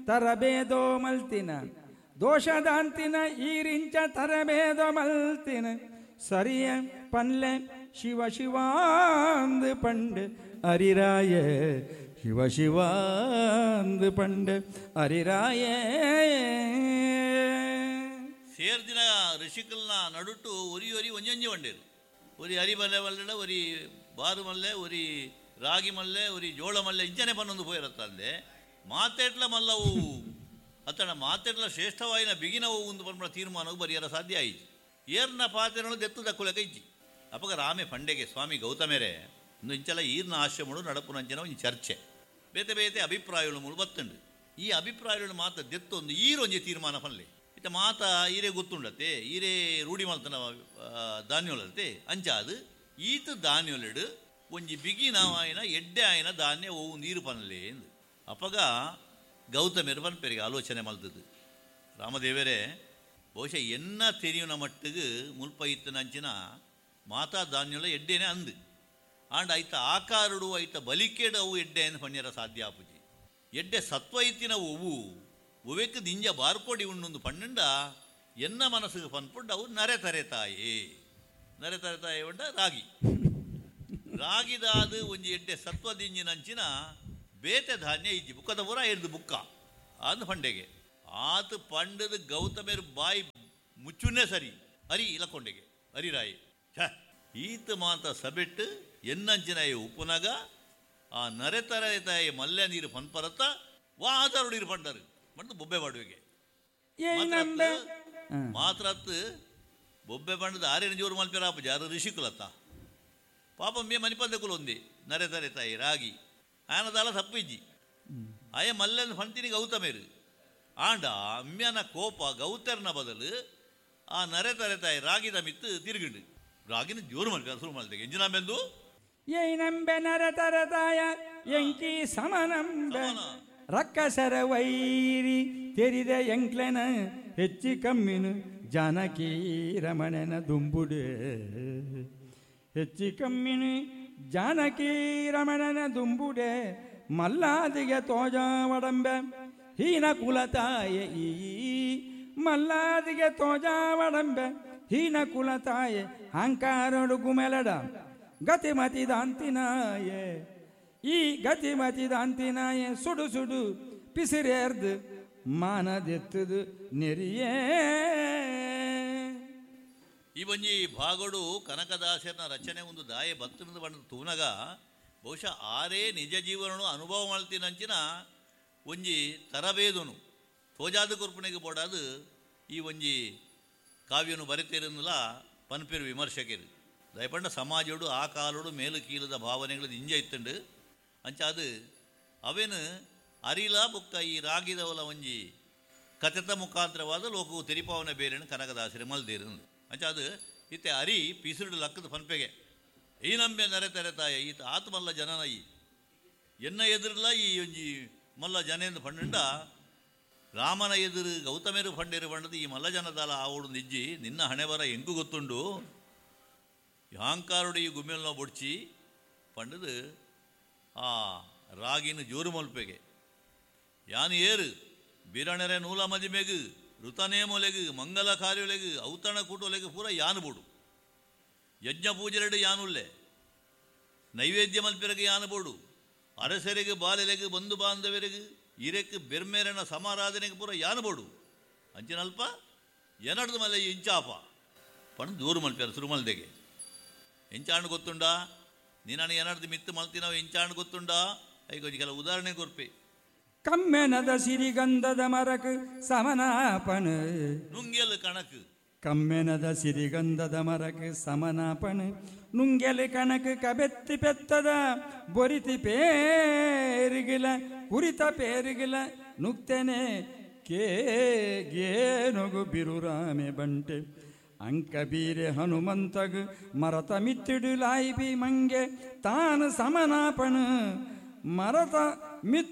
ತರಬೇದೋ ಮಲ್ತಿನ ದೋಷದಾಂತಿನ ಈರಿಂಚ ತರಬೇದೋ ಮಲ್ತಿನ ಸರಿಯ ಪನ್ಲೆ ಶಿವ ಶಿವಾಂದು ಪಂಡೆ ಅರಿರಾಯ ಶಿವ ಶಿವಾಂದು ಪಂಡೆ ಅರಿರಾಯ. ಸೇರ್ದಿನ ಋಷಿಕಲ್ನ ನಡುಟು ಒರಿ ಒರಿ ಒಂಜೊಂಜಿ ವಂಡೇರು. ಒರಿ ಅರಿ ಮಲ್ಲೆ ಮಲ್ಲೆಡ, ಒರಿ ಬಾರು ಮಲ್ಲೆ, ಒರಿ ರಾಗಿ ಮಲ್ಲೆ, ಒರಿ ಜೋಳ ಮಲ್ಲೆ ಇಂಚನೆ ಪನ್ನೊಂದು ಪೋಯಿರತ್ತಂದೆ ಮಾತೆಟ್ಲ ಮಲ್ಲವು ಅತ್ತಣ ಮಾತೆಟ್ಲ ಶ್ರೇಷ್ಠವಾಯಿನ ಬಿಗಿನವು ಒಂದು ಪನ್ಪುನ ತೀರ್ಮಾನವು ಬರಿಯರ ಸಾಧ್ಯ ಆಯಿತು. ಏರ್ನ ಪಾತೆರನು ದೆತ್ತು ದಕ್ಕುಲಕ ಇಜ್ಜಿ. ಅಪಗ ರಾಮೆ ಪಂಡೆಗೆ ಸ್ವಾಮಿ ಗೌತಮೇರೆ ಇಂದು ಇಂಚಲ ಈರ್ನ ಆಶ್ರಮಡು ನಡಪುನಂಚಿನ ಒಂಜಿ ಚರ್ಚೆ ಬೇತೆ ಬೇತೆ ಅಭಿಪ್ರಾಯಗಳು ಮೂಲು ಬತ್ತುಂಡು. ಈ ಅಭಿಪ್ರಾಯಗಳು ಮಾತ ದೆತ್ತೊಂದು ಈರೊಂಜಿ ತೀರ್ಮಾನ ಪನ್ಲೆ ಇತ್ತ ಮಾತ ಈರೇ ಗೊತ್ತುಂಡತ್ತೆ ಈರೇ ರೂಢಿ ಮಲ್ತನ ಧಾನ್ಯೊಲತ್ತೆ ಅಂಚಾದು ಈತ ಧಾನ್ಯೊಲೆಡು ಒಂಜಿ ಬಿಗಿ ನಾವಾಯಿನ ಎಡ್ಡೆ ಆಯಿನ ಧಾನ್ಯ ಓವು ನೀರು ಪನ್ಲೆ ಎಂದು. ಅಪಗ ಗೌತಮೆರು ಪನ್ಪೆರಿಗೆ ಆಲೋಚನೆ ಮಲ್ತದ್ದು ರಾಮದೇವರೇ ಬಹುಶಃ ಎನ್ನ ತೆರಿಯುನ ಮಟ್ಟಿಗೆ ಮುಲ್ಪ ಇತ್ತನಂಚಿನ ಮಾತಾ ಧಾನ್ಯಲ ಎಡ್ಡೇನೆ ಅಂದು ಆಂಡ ಐತ ಆಕಾರುಡು ಐತ ಬಲಿಕೇಡು ಅವು ಎಡ್ಡೆ ಎಂದು ಪಣ್ಯರ ಸಾಧ್ಯ ಆಪುಜಿ. ಎಡ್ಡೆ ಸತ್ವ ಇತ್ತಿನ ಒವು ಒವೆಕ್ ದಿಂಜ ಬಾರ್ಕೊಡಿ ಉಣ್ಣೊಂದು ಪಣ್ಣಂಡ ಎನ್ನ ಮನಸ್ಸಿಗೆ ಪನ್ಪುಂಡು ಅವು ನರೆ ತರೆ ತಾಯಿ ನರೆ ತರೆ ತಾಯಿ ಉಂಡ ರಾಗಿ ರಾಗಿದಾದ ಒಂಜಿ ಎಡ್ಡೆ ಸತ್ವ ದಿಂಜಿನಂಚಿನ ಬೇತೆ ಧಾನ್ಯ ಇಜ್ಜಿ ಬುಕ್ಕದ ಪೂರ ಎರ್ದು ಬುಕ್ಕ ಅಂದು ಪಂಡೆಗೆ ಆತ ಪಂಡದ ಗೌತಮೇರು ಬಾಯಿ ಮುಚ್ಚುನ್ನೇ ಸರಿ ಅರಿ ಇಲಕೊಂಡೆಗೆ ಅರಿರಾಯಿ ಛ ಈತ ಮಾತ ಸಬೆಟ್ಟು ಎನ್ನಂಚಿನ ಉಪ್ಪುನಗ ಆ ನರೆ ತರೆ ತಾಯಿ ಮಲ್ಯ ನೀರು ಪನ್ಪರತ್ತ ವಾ ಆಧಾರ ನೀರು ಪಂಡರು ಮಂಡು ಬೊಬ್ಬೆ ಮಾಡುವೆಗೆ ಮಾತ್ರತ್ ಬೊಬ್ಬೆ ಬಂಡದ ಆರೇನು ಜೋರು ಮಲ್ಪೆರಾಪ ಜಾರು ಋಷಿಕುಲತ್ತ ಪಾಪ ಮೇ ಮನಿಪಂದ ಕುಲೊಂದಿ ನರೆ ತರೆ ತಾಯಿ ರಾಗಿ ಆನದಾಲ ತಪ್ಪಿಜ್ಜಿ ಆಯ ಮಲ್ಲನ ಫಂತಿನಿ ಗೌತಮೇರು ಆಂಡ ಅಮ್ಯನ ಕೋಪ ಗೌತರ್ನ ಬದಲು ಆ ನರೆ ತರೆ ತಾಯಿ ರಾಗಿದ ಮಿತ್ತು ತಿರುಗಿಂಡು ರಾಗಿನ ಜೋರು ಮಲ್ಪೆ ಸುರು ಮಲ್ತೆಗೆ ಎಂಜಿನ ಬೆಂದು ಏಯ್ ನಂಬೆ ನರ ತರತಾಯ ಎಂಕಿ ಸಮನಂಬೆ ರಕ್ಕಸರ ವೈರಿ ತೆರಿದ ಎಂಕ್ಲೆನ ಹೆಚ್ಚಿ ಕಮ್ಮಿನು ಜಾನಕಿ ರಮಣನ ದುಂಬುಡೆ ಹೆಚ್ಚಿ ಕಮ್ಮಿನು ಜಾನಕಿ ರಮಣನ ದುಂಬುಡೆ ಮಲ್ಲಾದಿಗೆ ತೋಜಾವಡಂಬೆ ಹೀನ ಕುಲತಾಯ ಈ ಮಲ್ಲಾದಿಗೆ ತೋಜಾವಡಂಬೆ ಹೀನ ಕುಲತಾಯ ಅಹಂಕಾರಡು ಗುಮೆಲಡ ಗತಿಮತಿ ದಾಂತಿನಾಯೆ ಈ ಗತಿಮತಿ ದಾಂತಿನಾಯೆ ಸುಡು ಸುಡು ಪಿಸಿರೇರ್ದು ಮಾನದೆತ್ತದು ನೆರಿಯೇ. ಈ ಒಂಜಿ ಭಾಗಡು ಕನಕದಾಸರನ ರಚನೆ ಒಂದು ದಾಯ ಬತ್ತನದ ಬಣ್ಣದ ತೂನಗ ಬಹುಶಃ ಆರೇ ನಿಜ ಜೀವನನು ಅನುಭವ ಮಾಡ್ತೀನಂಚಿನ ಒಂಜಿ ತರಬೇದನು ತೋಜಾದ ಕೊರ್ಪಣೆಗೆ ಬೋಡಾದು ಈ ಒಂಜಿ ಕಾವ್ಯನು ಬರೆತಿರನ್ನುಲ ಪನ್ಪೇರು ವಿಮರ್ಶಕರು. ದಯಪಂಡ ಸಮಾಜೋಡು ಆ ಕಾಲೋಡು ಮೇಲು ಕೀಲದ ಭಾವನೆಗಳು ಇಂಜ ಇತ್ತುಂಡು ಅಂಚಾದು ಅವೇನು ಅರಿಲ ಬುಕ್ಕ ಈ ರಾಗಿದವಲ ಒಂಜಿ ಕಥೆತ ಮುಖಾಂತರವಾದ ಲೋಕವು ತೆರಿಪಾವನೆ ಬೇರೆನು ಕನಕದಾಸರಿ ಮಲ್ದೇರು ಅಂಚಾದು ಇತ್ತೆ ಅರಿ ಪಿಸುರುಡು ಲಕ್ಕದ ಪನ್ಪೆಗೆ ಈ ನಂಬೆ ನರೆ ತೆರೆ ತಾಯ ಈತ ಆತ್ಮಲ್ಲ ಜನನ ಈ ಎನ್ನ ಎದುರಲ್ಲ ಈ ಒಂಜಿ ಮಲ್ಲ ಜನೇಂದು ಪಂಡ ರಾಮನ ಎದುರು ಗೌತಮೇರು ಪಂಡೇರು ಪಂಡದು ಈ ಮಲ್ಲ ಜನದಾಲ ಆವಡು ನಿಜ್ಜಿ ನಿನ್ನ ಹಣೆ ಬರ ಎಂಕು ಗೊತ್ತುಂಡು ಅಹಂಕಾರುಡು ಈ ಗುಮ್ಮೆಲ್ನ ಬೊಡ್ಚಿ ಪಂಡದು ಆ ರಾಗಿನ ಜೋರು ಮಲ್ಪೆಗೆ ಯಾನು ಏರು ಬಿರಣರೆ ನೂಲ ಮದಿಮೆಗು ಋತನೇಮೊಲೆಗು ಮಂಗಲ ಕಾರ್ಯೊಲೆಗು ಔತಣ ಕೂಟೊಲೆಗು ಪೂರ ಯಾನು ಬೋಡು ಯಜ್ಞ ಪೂಜೆರಡು ಯಾನುಲ್ಲೆ ನೈವೇದ್ಯ ಮಲ್ಪಿರಗು ಯಾನು ಬೋಡು ಅರಸರಿಗೆ ಬಾಲೆಲೆಗು ಬಂಧು ಬಾಂಧವರಿಗು ಇರೆಕ್ ಬೆರ್ಮೇರನ ಸಮಾರಾಧನೆಗೆ ಪೂರ ಯಾನು ಬೋಡು ಅಂಚಿನಲ್ಪ ಎನಡ್ದು ಮಲ್ಲೆ ಇಂಚಾಪ ಪಂಡು ದೂರು ಮಲ್ಪ್ಯಾರ ಸುರುಮಲ್ದೆಗೆ ಎಂಚಾಂಡು ಗೊತ್ತುಂಡಾ ನೀನು ಎನಡ್ದು ಮಿತ್ತು ಮಲ್ತಿನವು ಎಂಚಾಂಡು ಗೊತ್ತುಂಡಾ ಐಕೊಂಚ ಕೆಲವು ಉದಾಹರಣೆ ಕೊರ್ಪೆ. ಕಮ್ಮೆನದ ಸಿರಿಗಂಧದ ಮರಕ್ ಸಮನಾಪಣ ನುಂಗೆಲ್ ಕಣಕ್ ಕಮ್ಮೆನದ ಸಿರಿಗಂಧದ ಮರಕ್ ಸಮನಾಪಣ ನುಂಗೆಲ್ ಕಣಕ್ ಕಬೆತ್ತಿ ಪೆತ್ತದ ಬೊರಿತಿ ಪೇರಿಗಿಲ ಕುರಿತ ಪೇರಿಗಿಲ ನುಕ್ತೆನೆ ಕೇಗೇನೊಗು ಬಿರುರಾಮೆ ಬಂಟೆ ಅಂಕ ಬೀರೆ ಹನುಮಂತಗ್ ಮರತ ಮಿತ್ತಿಡು ಲಾಯಿಬಿ ಮಂಗೆ ತಾನು ಸಮನಾಪಣ ಮರತ ಮಿತ್ತು